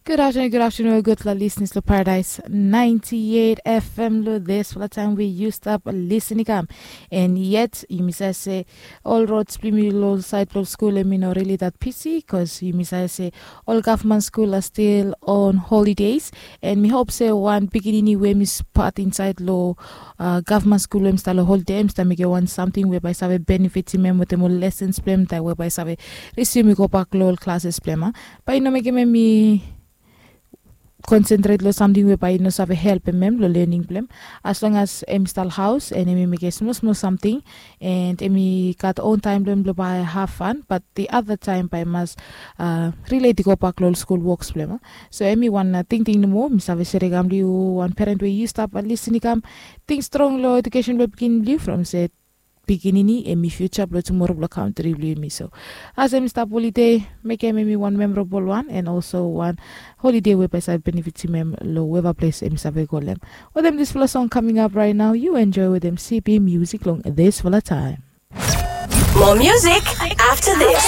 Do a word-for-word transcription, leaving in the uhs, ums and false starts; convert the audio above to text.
Good afternoon, good afternoon, gudfala listeners lo Paradise ninety-eight F M lo this fala time we yu stap listening kam. And yet, yumi save se all roads blong yumi lo side blong school em i no really that busy, cause yumi save se all government school are still on holidays. And mi hope se one pikinini we mi spat inside lo uh, government school we mi start lo holiday, mi start make one something we by save benefit him em with him lessons blem that we by save resume go back lo all classes blem. But you know, make him me concentrate lo samting we bae i no save helpem em lo lening blong em. As long as em i stap haos and em i mekem smol smol samting, and em i gat on taem blong em blong bae have fan, but the other time bae i mas relate i go bak lo ol skul woks blong em. So em i wan tingting nomo mi save serem kam long yu, wan peren we yu stap lisin i kam. Ting strong lo edukesen blong pikinini blong yu from se pikinini em i fiuja blong tumora blong kantri blong yumi. So as em i stap holide, mekem em i wan memorabol wan, and also wan holide we bae save benefitim em long weva ples em i save go long em. Wetem disfala song kaming ap raet nao, yu enjoe wetem C B Music long disfala taem. More music after this.